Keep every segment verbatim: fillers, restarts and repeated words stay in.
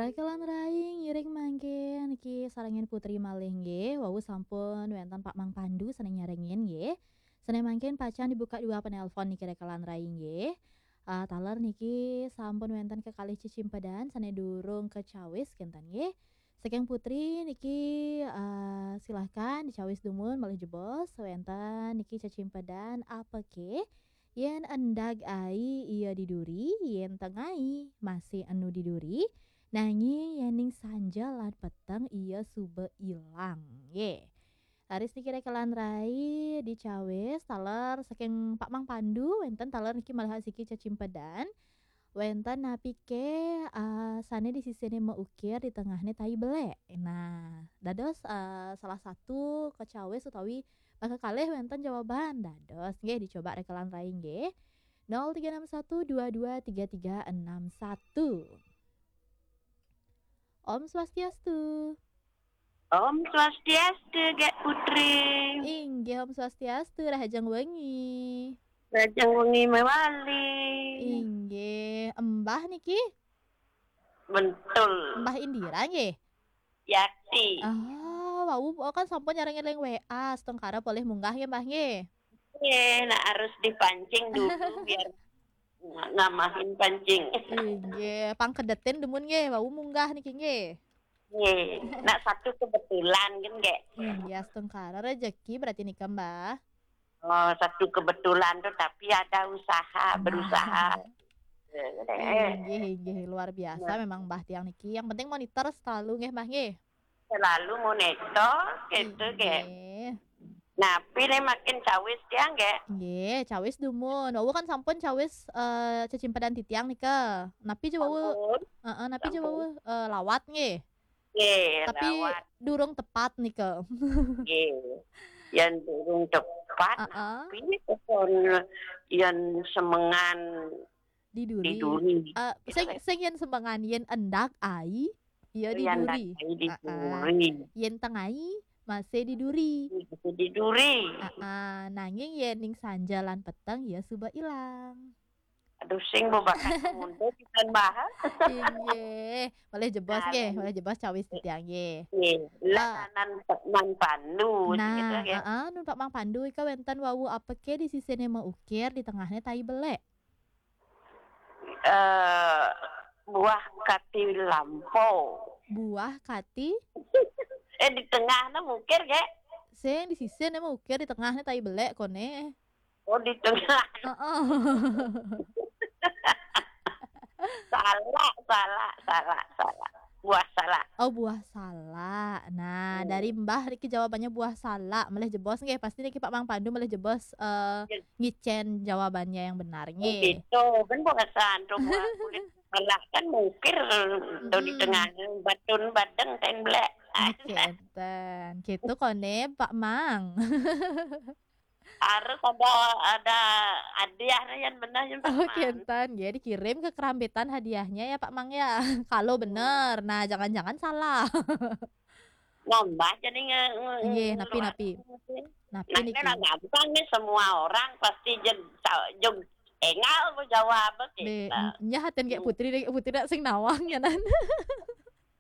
Rekelan rai, ngiring mangkin niki sarengin Putri malih nggih. Wau sampun wenten Pak Mang Pandu sane nyarengin nggih. Sane mangkin pacang dibuka dua penelpon niki rekelan rai nggih. Ah, taler niki sampun wenten kekalih cecimpedan sane durung kecawis kenten nggih. Saking Putri niki, ah, silahkan dicawis dumun malih jebos wenten niki cecimpedan apake. Yen endag ai iya diduri, yen tengai masih enu diduri, nanging yening sanja lan peteng iya suba ilang. Nggih. Raris niki rekelan rai dicawis taler saking Pak Mang Pandu, wenten taler niki malih asiki cecimpedan. Wenten napike, ah, sane di sisine maukir, di tengahne tai belek. Nah, dados, ah, salah satu kecawis utawi maka kalih wenten jawaban. Dados nggih dicoba rekelan rai nggih. Nol tiga enam satu dua dua tiga tiga enam satu. Om Swastiastu. Om Swastiastu, Gek Putri. Inggih, Om Swastiastu, rahajeng wengi. Rahajeng wengi mewali. Inggih, Mbah niki? Betul. Mbah Indira nggih? Yakti. Ah, wau kan sampun nyarengin ring W A, setengkara polih munggah nggih, Mbah nggih? Nggih, nah harus dipancing dulu biar ng-, ngamahin pancing. Inggih, pangkedetin dumun nggih, wau munggah niki nggih. Nggih, nah satu kebetulan kan, Gek? Inggih, astungkara rejeki berarti nika, Mbah. Oh, satu kebetulan tuh, tapi ada usaha, berusaha. Eh, Inggih, inggih, luar biasa Nah. memang Mbah tiang niki. Yang penting monitor selalu nggih, Mbah nggih. Selalu monitor gitu, Gek. Inggih. Nah, pilih makin cawis dia, Gek. Nggih, cawis dumun. Wau kan sampun cawis eh, cecimpedan titiang nika. Napi je wau? Sampun. Heeh, napi je Sampun. wau eh, lawat nggih. Nggih, Tapi lawat. Durung tepat nika. Nggih. Yang durung tepat, Heeh. tapi pokon yang semengan Diduri. diduri. Eh, sing sing yen semengan yen endak ai, ya Yang diduri. diduri. Heeh. Yen tengai masih diduri. Itu diduri. Heeh, nanging yen ning sanja lan peteng ya suba ilang. Aduh, sing bebakat muda kita bahas. Inggih, boleh jebos nggih, Nah, boleh jebos cawis titiang nggih. Nggih, Ah. lah nan nan pandu gitu Nah, ya. heeh, nun Pak Mang Pandu ika wenten wau apeke di sisine maukir, di tengahne tai belek. Eh, buah kati lampau. Buah kati Eh, di tengahnya mukir, Gek. sing di sisine maukir, di tengahne tai belek kone. Oh, di tengah. Heeh. Salah, salah, salah, salah. Buah salah. Oh, buah salak. Nah, Hmm. dari Mbah niki jawabannya buah salak. Melih jebos nggih, pasti niki Pak Mang Pandu melih jebos eh, Ya. ngicen jawabannya yang benar nggih. Gitu, kan buah santo buah kulit salah kan mukir tuh di Mm-mm. tengah batun badeng ten belek. Oke, enten. Gitu kone Pak Mang. Harus ada ada hadiahnya yang benar yang Oke, enten. Ya, dikirim ke kerambitan hadiahnya ya Pak Mang ya. Kalau bener. Nah, jangan-jangan salah. Nambah jadi nge, nge, Nggih, nge- napi, napi. Napi Nah, niki. Kan gampang nih, semua orang pasti jeg, jog engal mau jawab Be, kita. nyahatin kayak Hmm. Putri deh, Putri dak sing nawang ya nan.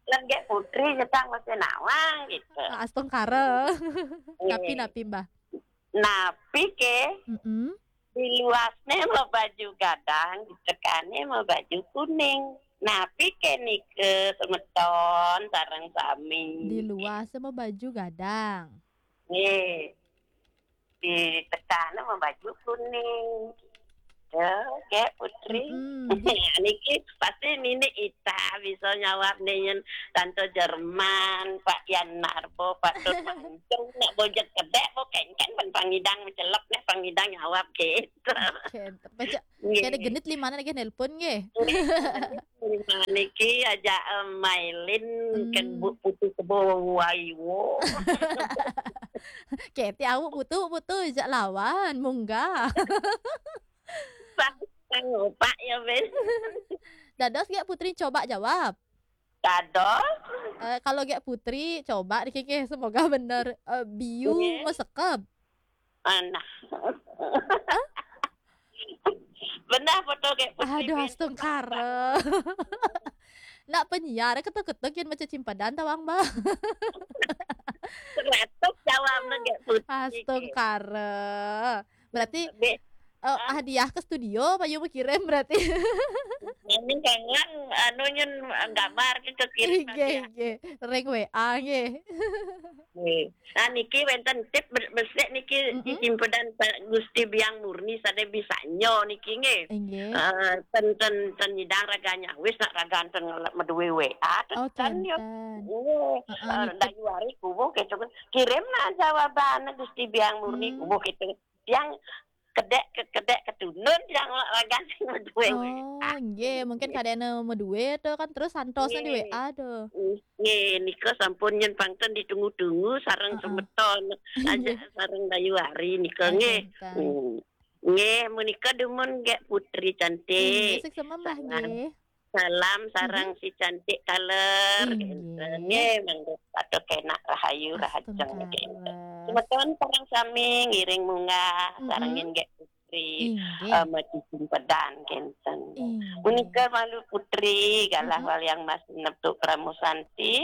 Lan kayak Putri kita mesti nawang gitu. Astungkara. Napi, Eh, napi, Mbah? Napi ke Mm-mm. di luasnya mau baju gadang, di tekane mau baju kuning. Napi ke nike semeton sareng sami. Di luas sama baju gadang. Nggih. Di tekane mau baju kuning. Tuh, kayak Putri. Mm-mm. Niki pasti nini Ita bisa nyawab nih, yen Tante Jerman, Pak Yan Narbo, Pak Tut Mancung, nak bojek kedek, bo kengkeng, pen pangidang mencelep nih, pangidang nyawab gitu. Oke, pecah. Nggih. Kene genit lima lagi nelpon nggih. Niki aja em, Mailin Hmm. kan bu putu kebo waiwo. Keti awak putu putu jak lawan munggah. Sang opak ya, Ben. Dados gak Putri coba jawab. Dados. Eh, kalau gak Putri coba dikikih semoga bener. Eh, biu Nggih. Mesekep. Anak. Benar foto kayak Putri Aduh, Ben. astungkara. Nak penyiar ketuk-ketuk yang baca cimpadan tawang, Mbak. Seratus jawab nak gak putih. Astungkara. Berarti Be, eh, hadiah ke studio payu mau kirim berarti. Ini kangen anu nyun gambar ke kirim Nggih, nggih. Ring W A nggih. Nah, niki wenten tip be- besik niki Mm-mm. Cicimpedan Pak Gusti Biang Murni sada bisa nyo niki nggih. Nggih. Eh, ten ten ten nyidang raganya wis nak ragan ten ngelak medue W A ten Oh, ten yo. kenten. Nggih. Heeh, Eh, nitip. Dayu hari kubuh gitu kan. Kirim lah jawaban Gusti Biang Murni Hmm. kubuh gitu. Yang kedek ke kedek ketunun yang ragan sing medue W A. Oh, nggih, mungkin kadene medue to kan terus santosnya di Nggih. W A to. Nggih, nika sampun nyen pangten ditunggu-tunggu sareng Heeh. semeton aja Nggih. Sareng Dayu hari nika Ah, nggih. kenten. Hmm. Nggih, menika dumun nggih Putri Nggih, cantik. sukses mah Salam. nggih. Salam sareng si cantik taler. Inggih. Nggih, mangga patut kenak rahayu rahajeng nggih. Astungkara. Semeton sareng sami ngiring munggah Mm-mm. sareng nggih Putri. Inggih. Eh, Mati Cicimpedan kenten. Inggih. Menika malu Putri galah Mm-mm. waliang mas neptuk Pramu Santi.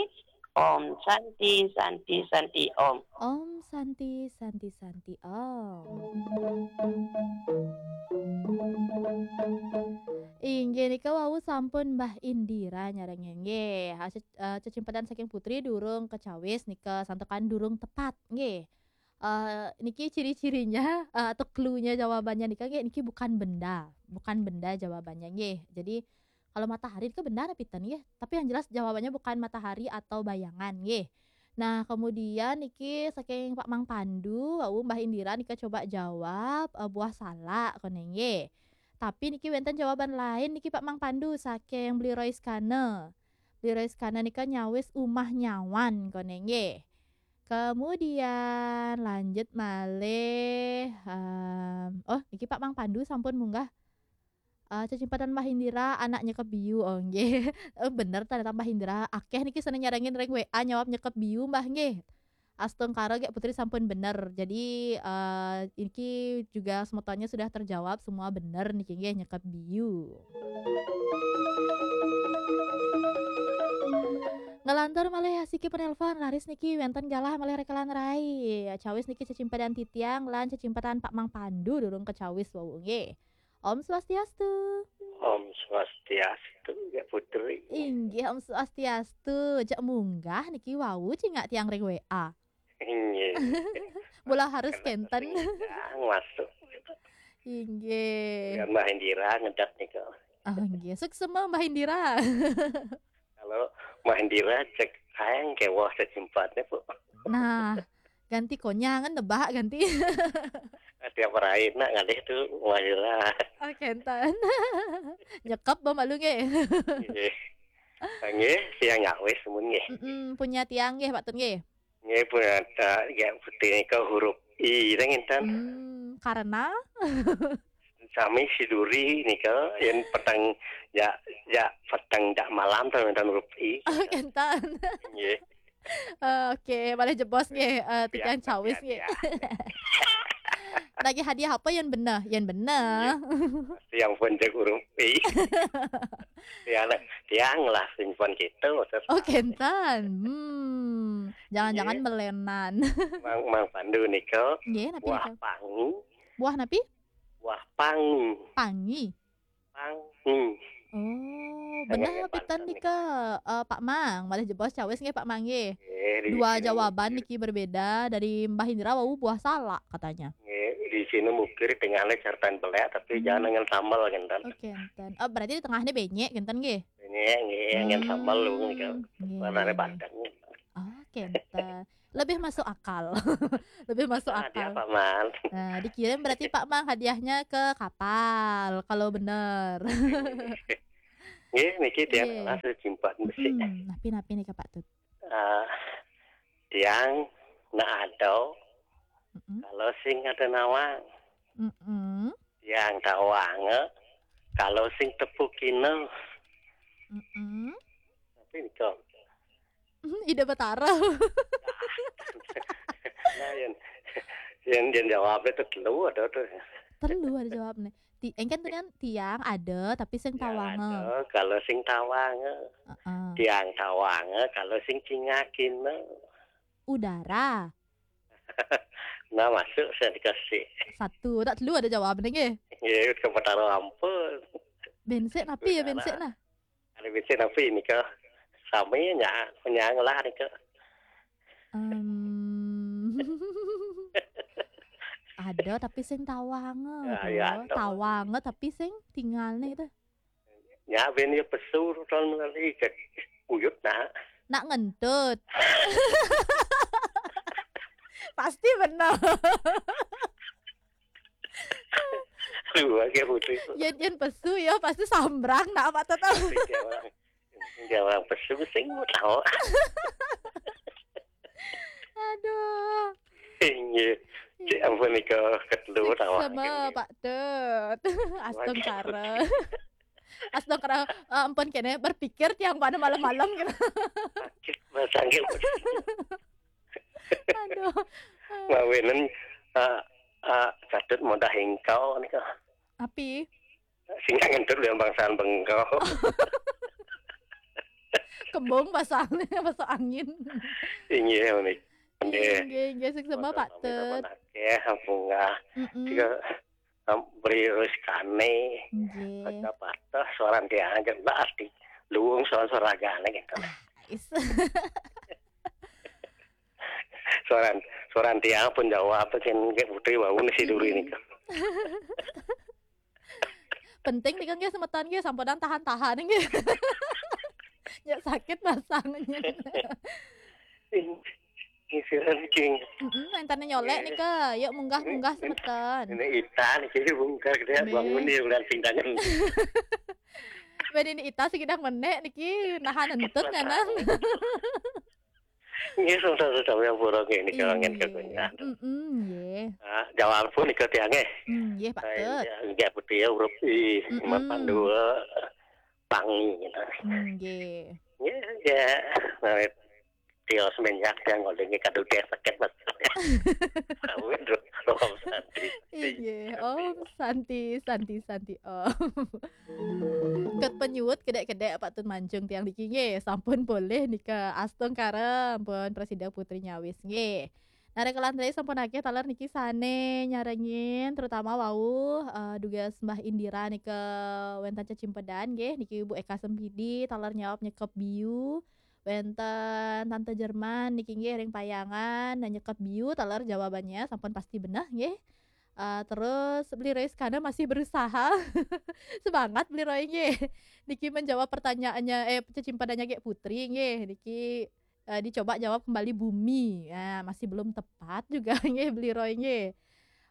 Om Santi Santi Santi Om. Om Santi Santi Santi Om. Inggih nika wau sampun Mbah Indira nyarengin nggih. Ha, ce- eh, cecimpedan saking Putri durung kecawis nika santukan durung tepat nggih. Eh, niki ciri-cirinya eh, atau clue-nya jawabannya nika nggih niki bukan benda, bukan benda jawabannya nggih. Jadi kalau matahari itu benda apa piten nggih, tapi yang jelas jawabannya bukan matahari atau bayangan nggih. Nah, kemudian niki saking Pak Mang Pandu, wau Mbah Indira nika coba jawab eh, buah salak kone nggih. Tapi niki wenten jawaban lain niki Pak Mang Pandu saking Bli Roiskana. Bli Roiskana nika nyawis umah nyawan kone nggih. Kemudian lanjut malih em, oh niki Pak Mang Pandu sampun munggah. Eh, cecimpedan Mbah Indira anak nyekep biu oh nggih. Eh, bener ternyata Mbah Indira akeh niki sene nyarengin ring W A nyawab nyekep biu Mbah nggih. Astungkara gek Putri sampun bener. Jadi eh, iki juga semetonnya sudah terjawab semua bener niki nggih nyekep biu. Ngelantur malih asiki penelpon laris niki wenten galah malih rekelan rai. Cawis niki cecimpedan titiang lan cecimpedan Pak Mang Pandu durung kecawis wau nggih. Om Swastiastu. Om Swastiastu ya Putri. Inggih Om Swastiastu. Cek munggah niki wau cingak tiang ring W A. Inggih. Bola harus kenten. Yang masuk. Inggih. Ya Mbah Indira ngedat nika. Oh, inggih. Suksema Mbah Indira. Kalau Mbah Indira cek sayang kewah sejempatnya bu. Nah, ganti konyangan debak ganti. Tiap hari nak ngalih tu Mbah Indira. Oh, kenten. Nyekep ba malu nggih. Nggih. Nggih, siang nyawis mun nggih. Mm-mm, punya tiang nggih Pak Tun nggih. Nggih pun ada ya putih nika huruf I dah nginten. Hmm, karena Sami siduri nika yen peteng ya ya peteng dak malam tuh nginten huruf I. oh, kenten. Nggih. Eh, Oke, boleh jebos nggih eh, tiang Pian- cawis pian- nggih. pian. Lagi hadiah apa yang bener? Yang bener. Yang pun cek huruf I. Tiang tiang lah simpan gitu. Terus Oh, kenten. Hmm, jangan-jangan Iya. melenan. Mang Mang Pandu nika Nggih, napi buah nika? Pangi, Buah napi? Buah Pangi, Pangi. Pangi. Oh, Tengah benar ya, pitan Pak, nika eh, Pak Mang, malah jebos cawis nggih Pak Mang nggih. Eh, di Dua sini jawaban mukir. Niki berbeda dari Mbah Indra wau buah salak katanya. Eh, di sini mukir tengahnya cartan belek tapi Hmm. jangan dengan sambal kenten. Oke, enten. Oh, berarti di tengahnya benyek kenten nggih. Ini yang yang sambal lu nika. Nggih, Warnanya nggih, nggih. bandeng. Oh, kenten. Lebih masuk akal. Lebih masuk Ah, dia akal. Pak Man. Nah, dikirim berarti Pak Mang hadiahnya ke kapal kalau bener. Nggih, niki tiang Nggih. lah sejempat besi. Hmm, napi-napi nih Pak Tut. Ah, tiang nak ada Mm-mm. kalau sing ada nawang. Mm-mm. Tiang tawang eh, kalau sing tepukina. Mm-mm. Tapi nika Ida Betara. Nah, yang yang yang jawabnya itu telu ada tuh. Telu ada jawabnya. Ti, engken tuh kan tiang ada tapi sing tawanga. Ada kalau sing tawanga. Heeh. Tiang tawanga kalau sing cingakina. Udara. Nah, masuk saya dikasih. Satu, tak telu ada jawab nih. Ya, ke Petara ampun. Bensek napi ya bensek nah. Ada bensek napi ini ke? Sami nya, menyang lah ni ke. Um, ada tapi sing tawanga. Ya, Ada. Ya, ada. Tawanga tapi sing tinggal nih itu. Ya, ben ya pesu tahun melalui ke uyut nak. Nak ngentut. Pasti benar. Lu lagi putih. Yen yen pesu ya pasti sambrang nak apa tuh tahu. Dia orang, dia orang pesu sing tahu. Aduh. Iya. Cik ampun ni ke ketelu tahu. Sama Pak Tut. Astungkara. Astungkara. Eh, ampun kene berpikir tiang pada malam-malam gitu. Sakit, masangil. Aduh. Ngawinin ah ah Catut mudah hingkau ni ke. Api. Sing ngentut yang bangsaan bengkau. Kembung pasang pasang angin. Inggih menika. Nggih. Nggih, nggih, sing sama Pak Tut. Oke, bunga. Mm-mm. Tiga um, beri terus kane. Nggih. Ada patah suara dia aja berarti luwung suara suara gane gitu. Is. Suara suara dia pun jawab apa sih kayak putri wau ni si dulu ini. Penting nih kan nggih semeton nggih samponan tahan-tahan nggih. Ya sakit pasangnya. Isiran king. Heeh, entane nyolek nih ke. Yuk munggah-munggah semeton. Ini Ita nih jadi bungkar dia Nih. Bangun dia udah singdangan. Ben ini Ita sing kidang menek niki nahan entut nyanan. Ini sudah sudah yang buruk ini kalau angin Iya. kakunya. Mm-mm, nggih. Nah, jawab pun ikut yang eh. Hmm, nggih Pak Tut. Enggak putih ya huruf I, Mm-mm. mapan dua, pangi gitu. Hmm, nggih. Ya, ya. Nah, dia semenjak yang ngolingnya kado dia sakit mas. Tahu itu, Om Santi. Iya, Om Santi, Santi, Santi Om. Ket penyuwut kedek-kedek Pak Tut Mancung tiang niki nggih, sampun boleh nika astungkara ampun presida putri nyawis nggih. Narek kelan tadi sampun akeh taler niki sane nyarengin terutama wau eh, dugas Mbah Indira nika wenten cecimpedan nggih niki Bu Eka Sempidi taler nyawab nyekep biu wenten Tante Jerman niki nggih ring payangan nyekep biu taler jawabannya sampun pasti beneh nggih. Eh, terus Beli Roy Iskandar masih berusaha. Semangat Beli Roy nggih. Niki menjawab pertanyaannya eh cecimpadannya Gek Putri nggih. Niki eh, dicoba jawab kembali bumi. Ya, masih belum tepat juga nggih Beli Roy nggih.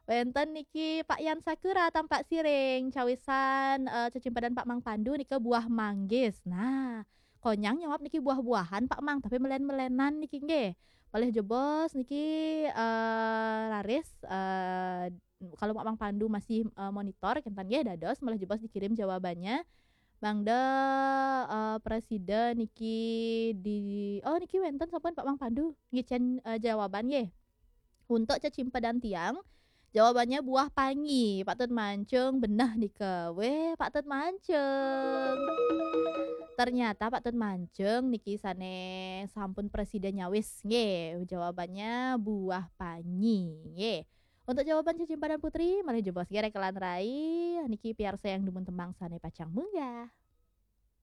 Wenten niki Pak Yan Sakura tampak siring cawisan eh, cecimpadan Pak Mang Pandu nika buah manggis. Nah, konyang nyawab niki buah-buahan Pak Mang tapi melen-melenan niki nggih. Malih jebos niki eh, raris eh, kalau Pak Mang Pandu masih eh, monitor kentan nggih dados malih jebos dikirim jawabannya. Mangda eh, presida niki di oh niki wenten sampun Pak Mang Pandu ngicen eh, jawaban nggih. Untuk cecimpedan tiang jawabannya buah pangi. Pak Tut Mancung benah nika. Weh, Pak Tut Mancung. Ternyata Pak Tut Mancung niki sane sampun presida nyawis nggih. Jawabannya buah pangi nggih. Untuk jawaban cecimpadan putri malih jebos nggih rekelan rai niki piarsa yang dumun tembang sane pacang munggah.